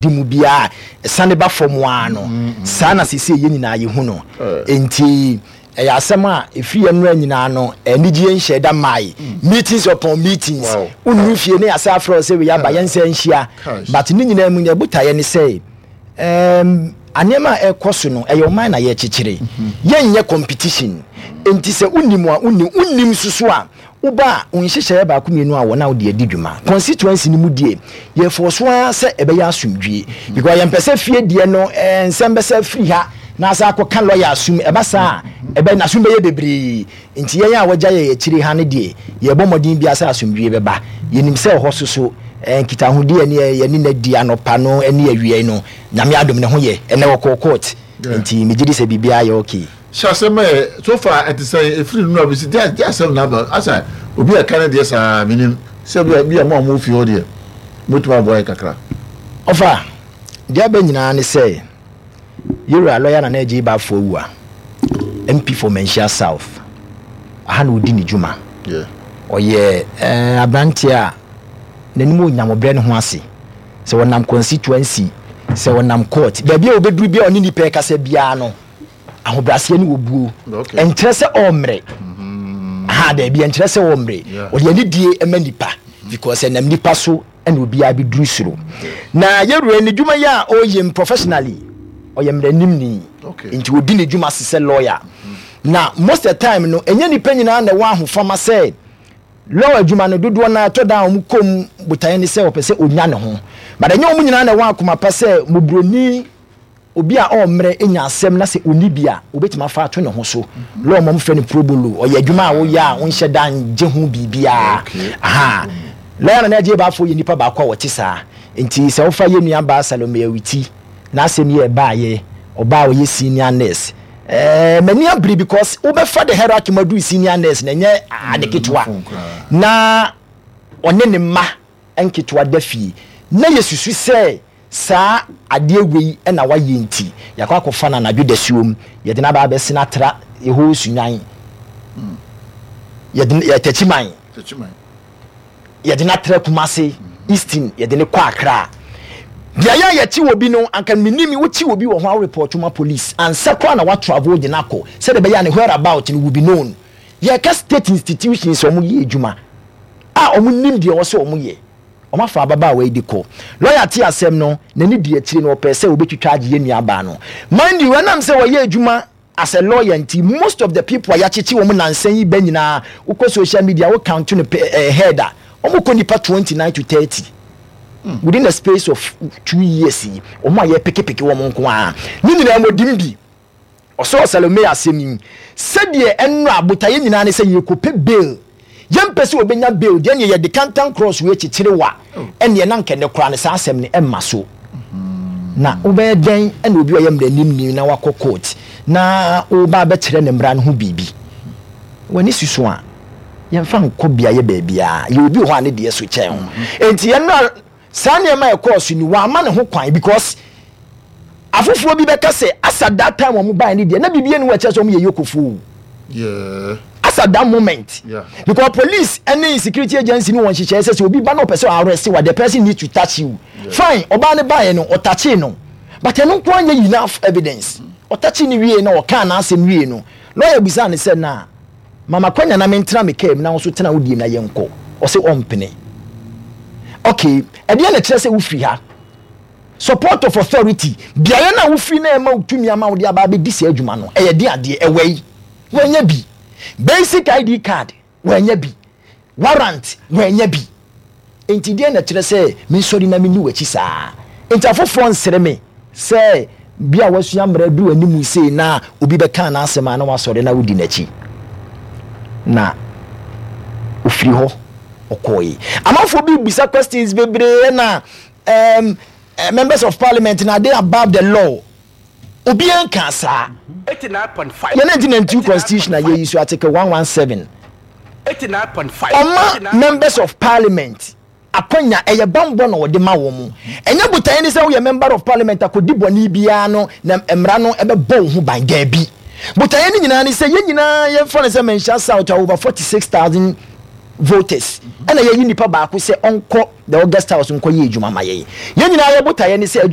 Di mu biara a ɛsane ba fam ara no, saa na seesei yɛn nyinaa yɛhu no. Enti ɛyɛ asɛm a ɛfiri yɛn mmerɛ nyinaa no, anigyeɛ nhyɛɛ da mmae. Meetings upon meetings. Wonnuru fie na yɛasan afrɛ wo sɛ wei aba, yɛnsan nhyia. But ne nyinaa mu no, yɛn botaeɛ ne sɛ, um, nneɛma a ɛrekɔ so no, ɛyɛ ɔman na yɛrekyekyere. Yɛnyɛ competition. Enti sɛ wonim a, wonim. Wonnim nso so a, Woba a, wo nhyehyɛeɛ baako mmienu a wɔ na wode adi dwuma. Constituency no mu deɛ, yɛfɔɔ so ara sɛ ɛbɛyɛ asomdwie. Because yɛmpɛ sɛ fie deɛ no eh, nsɛm bɛsa afiri ha na asa akɔka lɔya asom. Ɛba saa a, ɛbɛ, n'asom bɛyɛ bebree. Nti yɛn a wɔagya yɛn akyire ha no deɛ, yɛrebɔ mmɔden biara sɛ asomdwie bɛba. Yɛnim sɛ ɛhɔ so so, eh, nkitahodie a yɛne yɛne no adi anɔpa no ne awia yi no, Nyame adom ne ho yɛ. Ɛnnɛ ɔkɔɔ court. Nti megye di sɛ biribiara yɛ okay. Hyɛ asɛm ɛ so far ɛte sɛn ɛfiri nnora bɛsi deɛ deɛ asɛm na aba asa obi a ɛka ne deɛ saa menim sɛ bi a bi a mo a mo fie hɔ deɛ mobɛtumi aboa yɛ kakra. Ɔfa, deɛ aba nyinaa ne sɛ yɛwura lɔya Nana Adjei Baffour Awuah, MP for Manhyia South, aha na ɔdi ne dwuma. Yeah. Ɔyɛ eh, aberanteɛ a n'anim ɔnyam ɔbrɛ ne ho ase. Sɛ ɔnam constituency, sɛ ɔnam court, baabi a ɔbɛduru biara ɔne nnipa ɛkasa biara no, ahobrɛaseɛ ne obuo. Ɛnkyerɛ sɛ ɔmmrɛ. Aha, daabi, ɛnkyerɛ sɛ ɔmmrɛ. Ɔde anidie ma nipa because ɛnam nipa so ɛna obiara bɛduru soro. Na yɛwura ne dwuma yi a ɔyɛ mu professionally, ɔyɛ mmaranimni. Nti ɔdi ne dwuma se sɛ lawyer. Na most of the time no, ɛnyɛ nipa nyinaa na ɛwɔ ahofama sɛ law adwuma no, dodoɔ no ara ɛtɔ da a wɔn kɔ mu botaeɛ ne sɛ ɔpɛ sɛ ɔnya ne ho. But ɛnyɛ wɔn nyinaa na ɛwɔ akoma pa sɛ mmɔborɔni Obi a ɔmmrɛ nya asɛm na sɛ ɔnni bi a, ɔbɛtumi afa ato ne ho so. Law mu wɔfrɛ no pro bono. Ɔyɛ adwuma a woyɛ a wonhyɛ da ngye ho biribiara. Aha. Lɔya Nana Adjei Baffour yɛ nipa baako a ɔte saa. Nti sɛ wofa yɛn nua baa Salome Awiti n'asɛm yi a ɛbaeɛ, ɔbaa a ɔyɛ senior nurse. Ɛɛ m'ani abere because wobɛfa the hierarchy mu aduru senior nurse no ɛnyɛ ade ketewa. Na ɔne ne mma nketewa da fie. Na yɛsusu sɛ Saa adeɛ wei na wayɛ nti, yɛakɔ akɔfa no anadwo dasuom, yɛde no aba abɛsene atra Yehowa Sunyan, yɛde no, Takyiman, yɛde no atra Kumase, Eastern, yɛde no kɔ Accra. Beaeɛ a yɛkye obi no, anka mennim, wokye obi wɔ hɔ a worepɔɔto ma police ansa koraa na woatravel de no akɔ, sɛdeɛ ɛbɛyɛ a ne whereabout no will be known. Yɛreka state institutions a wɔyɛ adwuma a wɔnim deɛ ɛwɔ sɛ wɔyɛ. Wɔafa ababaawa yi de kɔ. Lɔya tee asɛm no, n'ani dii akyire na ɔpɛɛ sɛ ɔbɛtwitwa agye yɛn nuabaa no. Mind you, ɛnam sɛ ɔyɛ adwuma as a lawyer nti, most of the people a yɛakyekye wɔn nnansa yi ba nyinaa, wokɔ social media, wo count no per head a, wɔkɔ nnipa 29 to 30. Within a space of 2 years yi, wɔn a yɛpekepeke wɔn nko ara. Ne nyinaa mu ɔdim bi. Ɔsɔɔ Salome asɛm yi, Sɛdeɛ ɛnnora botaeɛ nyinaa ne sɛ yɛrekɔpɛ bail. Yɛmpɛ sɛ ɔbɛnya bail deɛ, ɛnneɛ yɛde kantan cross wei kyekyere wo a, ɛnneɛ na anka ɛnnɛ koraa no saa asɛm no ɛmma so. Na wobɛyɛ dɛn na obi a ɔyɛ mmaranimni na wakɔ court na woreba abɛkyerɛ ne mmara no ho biribi? W'ani susu a, yɛmfa nkɔ beaeɛ baabiara. Yɛwɔ obi wɔ hɔ a ne deɛ so kyɛn wo. Enti ɛnnora Saa nneɛma a ɛkɔɔ so ni, wamma ne ho kwan because afoforɔ bi bɛka sɛ as at that time wɔn baeɛ no deɛ na biribi ani wɔ ɛkyerɛ sɛ wɔn yɛ yokofoɔ o. Yeah. As at that moment. Yeah. Because police ne security agency no wɔn nhyehyɛeɛ sɛ sɛ obi ba na ɔpɛ sɛ arrest wa the person needs to touch you. Yeah. Fine, ɔbaa no baeɛ no ɔtouchee no but ɛno nko ara nyɛ enough evidence. Ɔtouchee no wie na ɔkaa n'asɛm wie no lawyer bisaa no sɛ na Ma m'akwanya na mentena me kaa mu na wo nso tena wo deɛ mu na yɛnkɔ. Ɔse ɔmpene. Ok, ɛdeɛn na ɛkyerɛ sɛ wofiri ha? Support of authority, beaeɛ no a wofiri na ɛma wo tumi ama wode aba abɛdi saa adwuma no, ɛyɛ den adeɛ? Ɛwɔ yi? Wannya bi. Basic ID card, wannya bi. Warrant, wannya bi. Enti deɛn na ɛkyerɛ sɛ mensɔre na menni w'akyi saa? Enti afoforɔ nsere me sɛ bi a wasua mmara aduru anim sei na obi bɛka n'asɛm a na wasɔre na wodi n'akyi. Na ɔfiri hɔ ɔkɔɔe. Amanfoɔ bi bisa questions bebree ɛna um, members of parliament na are they above the law? Obiara nkaa saa. Yɛn 1992 constitution a yɛyi so article 117 ɔma members of parliament akwanya, ɛyɛ bammɔ na ɔde ma wɔn. Ɛnyɛ botaeɛ ne sɛ woyɛ member of parliament akɔdi bɔne biara no na mmara no ɛbɛbɔ wo ho ban. Daabi. Botaeɛ no nyinaa ne sɛ yɛn nyinaa yɛmfa no sɛ Manhyia South a over 46,000. voters ɛna yɛyi nipa baako sɛ ɔnkɔ the August House nkɔ yɛ adwuma ma yɛn. Yɛn nyinaa yɛ botaeɛ ne sɛ adwuma.